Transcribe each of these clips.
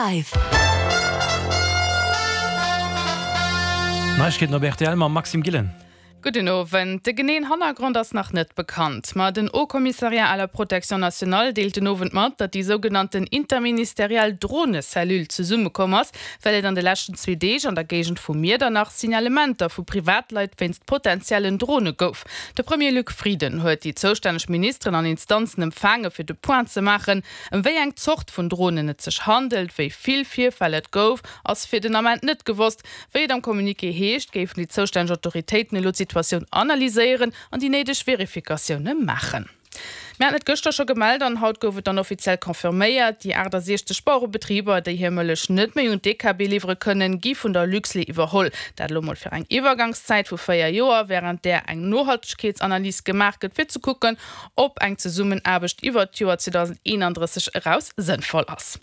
100,5. Neiegkeeten op rtl mam Maxime Gillen. Gudden Owend. De geneeën Hannergrond ass nach net bekannt, ma den Haut Commissariat à la Protection nationale deelt den Owend mat, datt déi sougenannten interministeriell Dronecellule zesummekomm ass, well et an de leschten zwee Deeg an der Géigend vu Miedernach Signalementer vu Privatleit wéinst potentiellen Drone gouf. De Premier Luc Frieden huet déi zoustänneg Ministeren an Instanzen empfaange fir de Point ze maachen, ëm wéi eng Zort vun Dronen et sech handelt. Wéi vill Virfäll et gouf, ass fir den Ament net gewosst. Wéi et am Communiqué heescht, géifen déi zoustänneg Autoritéiten elo d'Situatioun analyséieren an déi néideg Verifikatioune maachen. Mir haten et gëschter scho gemellt an haut gouf et dann offiziell confirméiert, Déi 68 Bauerebetriber, déi hir Mëllech net méi un d'DKB liwwere kënnen, gi vun der Luxlait iwwerholl. Dat elo mol fir eng Iwwergangszäit vu 4 Joer, wärend där eng Nohaltegkeetsanalys gemaach gëtt, fir ze kucken, ob eng Zesummenaarbecht iwwert d'Joer 2031 eraus sënnvoll ass.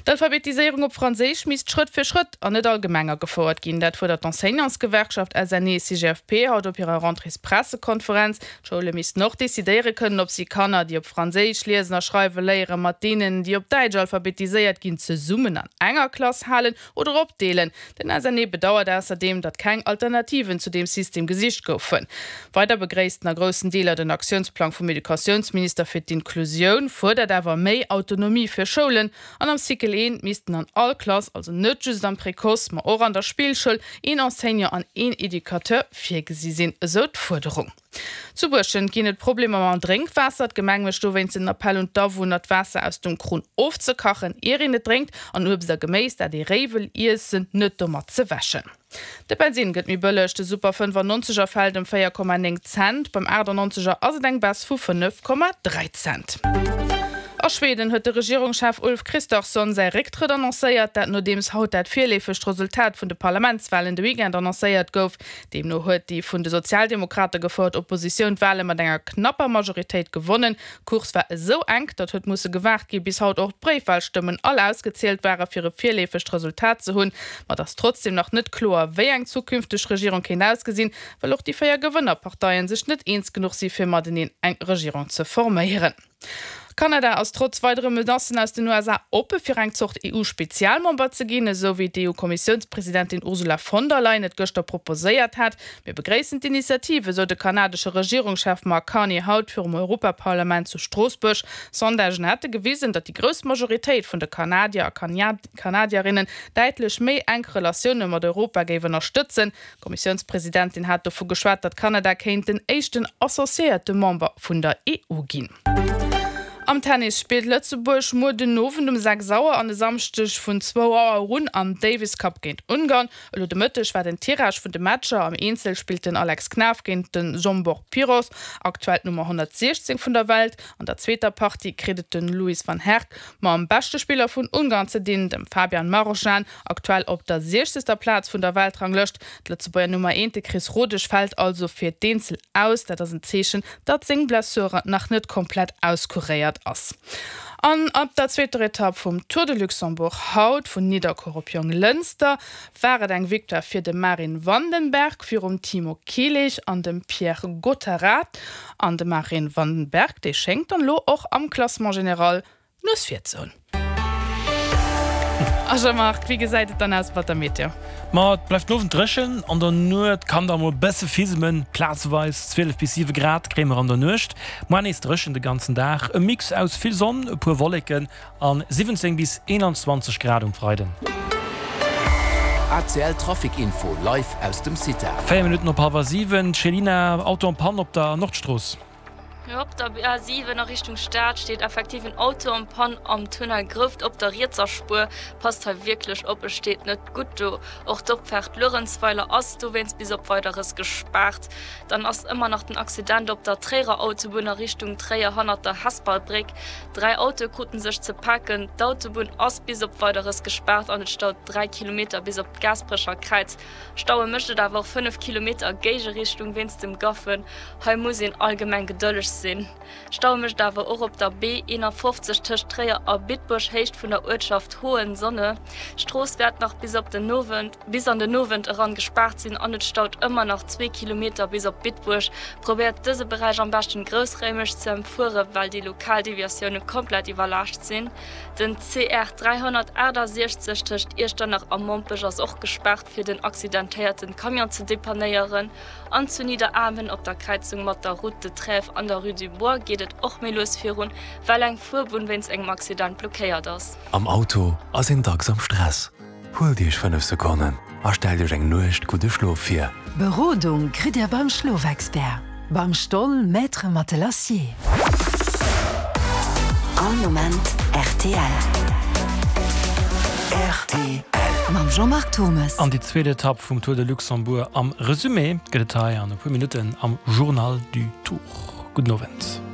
D'Alphabetiséierung op Franséisch misst Schrëtt fir Schrëtt an net allgemeng agefouert ginn. Dat fuerdert d'Enseignantsgewerkschaft SNE-CGFP haut op hirer Rentréespressekonferenz. D'Schoule missten och decidéiere kënnen, ob si Kanner, déi op Franséisch liesen a schreiwe léieren, mat deenen, déi op Däitsch alphabetiséiert ginn, zesummen an enger Klass halen oder opdeelen. Den SNE bedauert ausserdeem, datt keng Alternativen zu deem System gesicht goufen. Weider begréisst en a groussen Deeler den Aktiounsplang vum Educatiounsminister fir d'Inklusioun, fuerdert awer méi Autonomie fir Schoulen. An am Cycle I missten an all Klass, also net just am Précoce, ma och an der Spillschoul, een Enseignant an een Educateur virgesi sinn, esou d'Fuerderung. Zu Buerschent ginn et Problemer mam Drénkwaasser. D'Gemeng mécht dowéinst en Appell un d'Awunner, d'Waasser aus dem Krunn ofzekachen, ier een et drénkt, an Uebst a Geméis, dat ee réi wëll iessen, net domat ze wäschen. De Bensinn gëtt méi bëlleg, de Super 95 er fält ëm 4,9 Cent, beim 98 er ass et eng Baisse vu 5,3 Cent. A Schweden huet de Regierungschef Ulf Kristersson säi Récktrëtt annoncéiert, dat nodeems haut dat virleefegt Resultat vun de Parlamentswalen de Weekend annoncéiert gouf. Deemno huet déi vun de Sozialdemokrate gefouert Oppositioun d'Wale mat enger knapper Majoritéit gewonnen. D'Course war esou enk, datt huet musse gewaart gi bis haut och d'Bréifwalstëmmen all ausgezielt ware fir e virleefegt Resultat ze hunn. Ma et ass trotzdeem nach net kloer, wéi eng zukünfteg Regierung kéint ausgesinn, well och déi 4 Gewënnerparteien sech net eens genuch si fir mateneen eng Regierung ze forméieren. Kanada ass trotz weidere Menacen aus den USA oppe fir eng Zort EU-Spezialmember ze ginn, esou wéi d'EU-Kommissiounspresidentin Ursula von der Leyen et gëschter proposéiert hat. Mir begréissen d'Initiative, esou de kanadesche Regierungschef Mark Carney haut virum Europaparlament zu Stroossbuerg. Sondagen hätte gewisen, datt déi grouss Majoritéit vun de Kanadier a Kanadierinnen däitlech méi enk Relatioune mat Europa géif ënnerstëtzen. D'Kommissiounspresidentin hat dovu geschwat, datt Kanada kéint den éischten associéierte Member vun der EU ginn. Am Tennis spillt Lëtzebuerg muer den Owend um 6 Auer an e Samschdeg vun zwou Auer un am Davis Cup géint Ungarn. Elo de Mëtteg war den Tirage vun de Matcher. Am Eenzel spillt den Alex Knaff géint de Zsombor Piros, aktuell d'Nummer 116 vun der Welt. An der zweeter Partie kritt et de Louis van Herck mam beschte Spiller vun Ungarn ze dinn, dem Fabian Marozsan, aktuell op der siechzegster Plaz vun der Weltranglëscht. D'Lëtzebuerger Nummer eent, de Chris Rodesch, fält also fir d'Eenzel aus. Dat ass en Zeechen, datt seng Blessure nach net komplett auskuréiert ass. An op der zweeter Etapp vum Tour de Luxembourg haut vun Nidderkuer op Jonglënster war et eng Victoire fir de Marin Vandenbergh virum Timo Kielich an dem Pierre Gotterat. An de Marin Vandenbergh, dee schéngt dann elo och am Classement général D'Nues vir ze hunn. A Jean-Marc, wéi gesäit et dann aus mat der Meteo? Ma et bleift den Owend dréchen, an der Nuet kann da mol e bësse fismen, plazeweis 12 bis 7 Grad kréie mer an der Nuecht. Moar nees dréchen de ganzen Dag, e Mix aus vill Sonn, e puer Wolleken an 17 bis 21 Grad um Freiden. ACL Trafic Info live aus dem CITA. 4 Minutten op hallwer 7, Chelina, Auto en Panne op der Nordstrooss. Op der A7 a Richtung Stad steet effektiv en Auto en panne am Tunnel Grouft op der rietser Spuer. Passt hei wierklech op, et steet net gutt do. Och d'Opfaart Luerenzweiler ass dowéinst bis op Weideres gespaart. Dann ass ëmmer nach den Accident op der Tréierer Autobunn a Richtung Tréier hannert der Hesperlbréck. 3 Autoe kruten sech ze paken. D'Autobunn ass bis op Weideres gespaart an et staut 3 Kilometer bis op d'Gaasperecher Kräiz. Staue mécht et awer och 5 Kilometer a Géigerichtung wéinst dem Gaffen. Hei muss een allgemeng gedëlleg sinn. sinn. Stau mécht awer och op der B 51 tëscht Tréier a Bitburg, Héicht vun der Uertschaft Hohensonne. D'Strooss wäert nach bis op den Owend bis an den Owend eran gespaart sinn an et staut ëmmer nach zwee Kilometer bis op Bitburg. Probéiert dëse Beräich am beschten groussraimeg ze ëmfuere well déi lokal Deviatioune komplett iwwerlaascht sinn. Den CR 368 tëscht Iechternach a Mompech ass och gespaart fir den accidentéierten Camion ze depannéieren. An zu Nidderaanwen op der Kräizung mat der Route de Trèves an der Rue du Bois geet et och méi lues virun, well eng Fuerbunn wéinst engem Accident blockéiert ass. Am Auto ass een dacks am Stress. Huelt Iech 5 Sekonnen a stellt Iech eng Nuecht gudde Schlof vir. Berodung kritt Dir beim Schlofexpert, beim Stoll Maître Matelassier. All Moment rtl. Rtl. Mam Jean-Marc Turmes. An déi zweet Etapp vum Tour de Luxembourg am Resumé gëtt et hei an e puer Minutten am Journal du Tour. Gudden Owend.